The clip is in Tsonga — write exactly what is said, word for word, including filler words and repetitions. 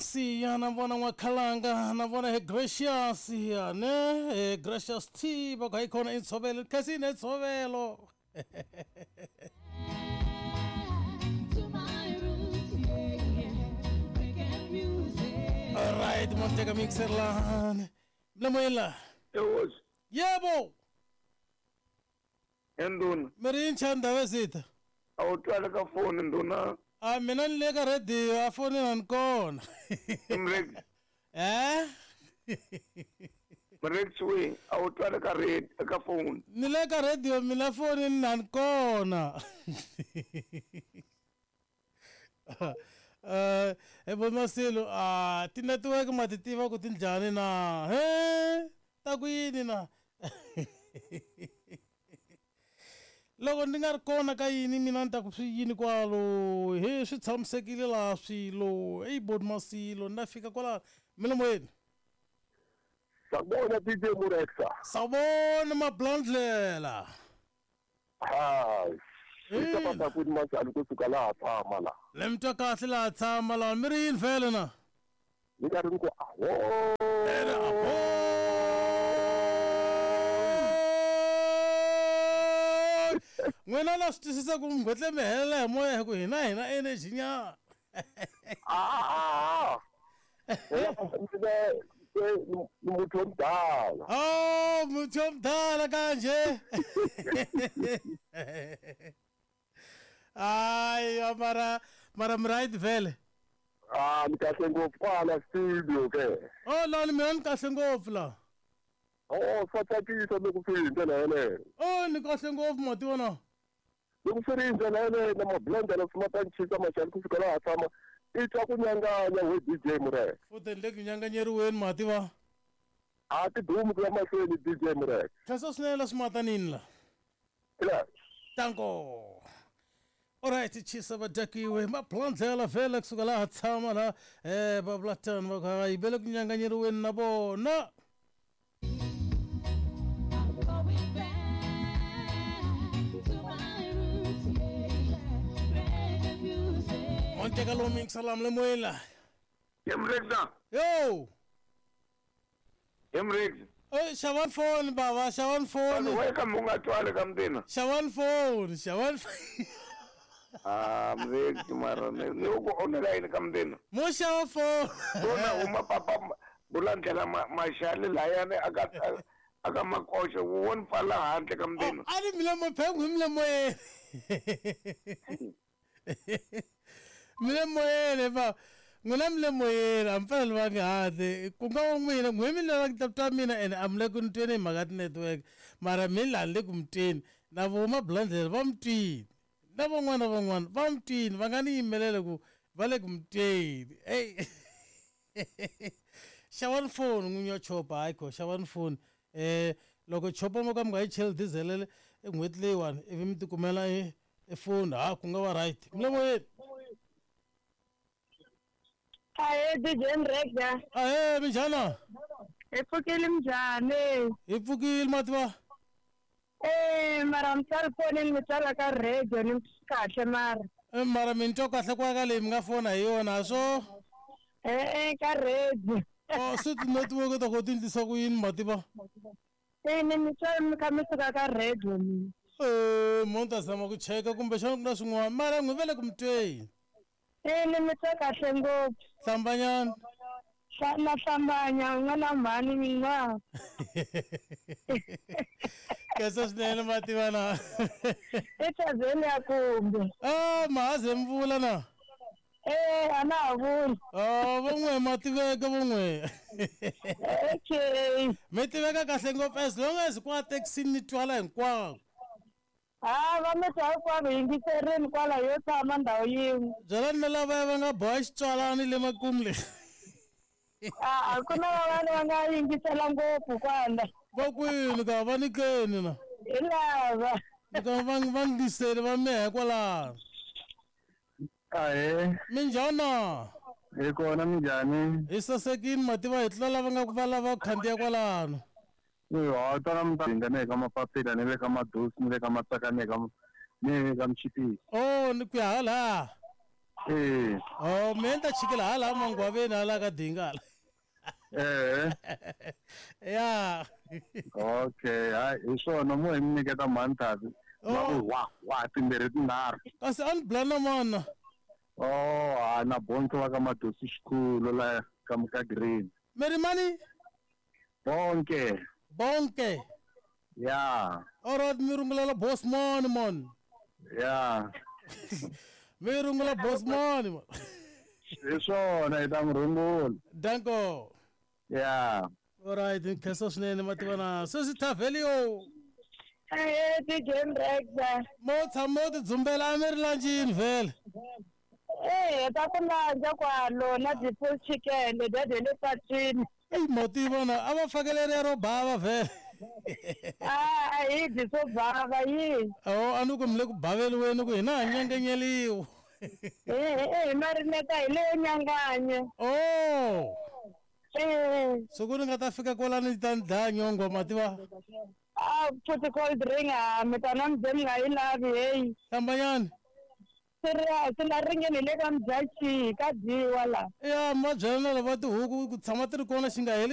Siya na vona n'wakhalanga na vona he Gracious ya ne he Gracious T va ku hayi khona i ntshovelo kasi ne ntshovelo. Alright, monteka mixer lani mlemoyela. Ewozi. Yebo. Enduna. Miri nchanda wezitha. Awutwala ka foni nduna. A mina ni le ka radio a foni na ni kona. Mrex. Eh? Mrex we awutwala ka radio ka phone. Ni le ka radio mina foni na ni kona. Eh, e Masilo a ti network ma ti tiva ku ti njhani na? He? Ta ku yini na? Loko ni nga ri kona ka yini mina ni ta ku swi yini kwalo he swi tshamisekile laha swilo eyi bodi Masilo na fika kwala milomoyeni. Sawubona D J Murexa. Sawubona Mablandlela. Hayi. Swi ku majali kusuka laha tshama la. Le mi twa kahle laha tshama la mi ri yini vhele na? Ni nga ri ku aho. N'wina na swi twisisa ku mi mi helela hi moya hi ku hina hina energy nyana. Ah. Ni muthu omdala. Oh, muthu omdala kanje. Ay, mara mara mi right vhele. Ah, ni kahle ngopfu kwala studio ke. Oh, la ni mina ni kahle ngopfu la. Oh, swa tsakisa loko swi hi ndlela yeleyo. Oh, ni kahle ngopfu matiwana. Loko swi ri hi ndlela yeleyo na mablendela swi ma ta ncisa maxali kusuka laha tshama i twa ku nyanganya we D J Murek. Futhi ni le ku nyanganyeriweni mativa. A ti dumi ku ya mahlweni D J Murek. Khensa swinene la swimatanini la. Ila. Tanko. Alright, chisa vadakiwe mablandlela vhele kusuka laha tshama la eh va vula tano va ku hayi ve le ku nyanganyeriweni na vona. Monteka lo mixer la mlemoyela. Emrexa. Yo. Emrex. Eh, xavan phone baba, xavan phone. Wa ka munga twale ka mdina. Xavan phone, xavan. Ah, mrex mara ne ku onela yini ka mdina. Mo xava phone. Bona uma papa bulandlela maxali layani aka aka makoxo wo pfala handle ka mdina. A ni mina mo phengu mi le moyeni. Mi le moyeni ba. N'wina mi le moyeni a mi fanele va nge handle ku nga wa n'wina n'we mi lava ku ta mina ene a mi le ku ni tweni hi mhaka ti-network mara mi laha ni le ku mi tweni na vo Mablandlela va mi twini na van'wana na van'wana va mi twini va nga ni yimelele ku va le ku mi tweni ey. Xavani foni n'winyi wa chopa hayi kho xavani foni eh loko chopa mo ka mi nga yi cheli diesel n'hweti leyiwani ivi mi tikumela e foni ha ku nga va right mi le moyeni. Ahe D J Mrexa. Ahe minjhani? Hi pfukile minjhani? Hi pfukile mativa. Eh mara mi tsali fonini mi tsala ka radio ni kahle mara. Eh mara mi ni twa kahle kwa ka leyi mi nga fona hi yona swo? Eh ka radio. Oh swi ti-network ta ku ti endlisa ku yini mativa? Eh ni mi tsala mi kha mi suka ka radio mi. Eh mo ni ta zama ku cheka kumbexana ku na swin'wana mara n'wi ve le ku mi tweni. Eh ni mi twa kahle ngopfu. Hlambanyana. Na hlambanya n'wana mhani mina. Khensa swinene mativa na. Echaveni ya kumbe. Ah mahaze mvula na. Eh a na ha vuli. Oh van'we ma tiveka van'we. Okay. Mi tiveka kahle ngopfu as long as kwa taxini ni twala hinkwako. Ah va mi twa hinkwavo yingiserini kwala yo tshama ndhawu yin'we. Byelani na lavaya va nga boha xitswalani le makumu le. Ah a ku na van'wana va nga yingisela ngopfu kwala. Va kwini ka va nikeni na? Hi lava. Ka va va ngisele va mehe kwalano. Ahe. Minjhani? Hi kona minjhani? Hi sasekini mativa hi tlula lava nga ku va lava ku khandziya kwalano. Ha tala mi ta ni ka mapapila ni le ka madosi ni le ka matsaka ni ka ni le ka mchipisi. Oh ni ku ya hala. Eh. Oh, me ni ta chikela hala mangwaveni hala ka dingala. Eh. Ya. Okay, hayi hi swona mo hi mi nyiketa mhani Va ku wa wa timbirhi tinharhu. Kasi a ni blana mana. Oh, ha na bonke va ka Madosi xikhulu la ka ka Green. Meri mani? Bonke. Bonke. Ya. Alright, mi rungulela boss mani man. Ya. Mi rungula boss mani man. Hi swona hi ta n'wi rungula. Danko. Ya. Alright, nkhensa swinene mativana. Sweswi Thavelio. Eh D J Mrexa. Mo tshama u tidzumbela a mi ri lanjini vhele. Eh ta ku landza kwalo na ti-full chicken letiya ta le patwini. Eyi mo tiva na a va fakeleriya ro bava vhele. Ah a hi dyi swo bava yi. Oh a ni ku mi le ku baveliweni ku hina ha nyangenyeliwa. Eh eh hi marineta hi leyo nyanganya. Oh. Eh. Siku ni nga ta fika kwalani ni ta ni dlaya nyongwa ma tiva. Ah futhi cold drink ah mi ta na mi ze mi nga yi lavi hey. Hlambanyani. Serious la ringeni le ka Mudyaxihi ka dyiwa la. Ya ma byela na lava tihuku ku tshama ti ri kona xi nga heli.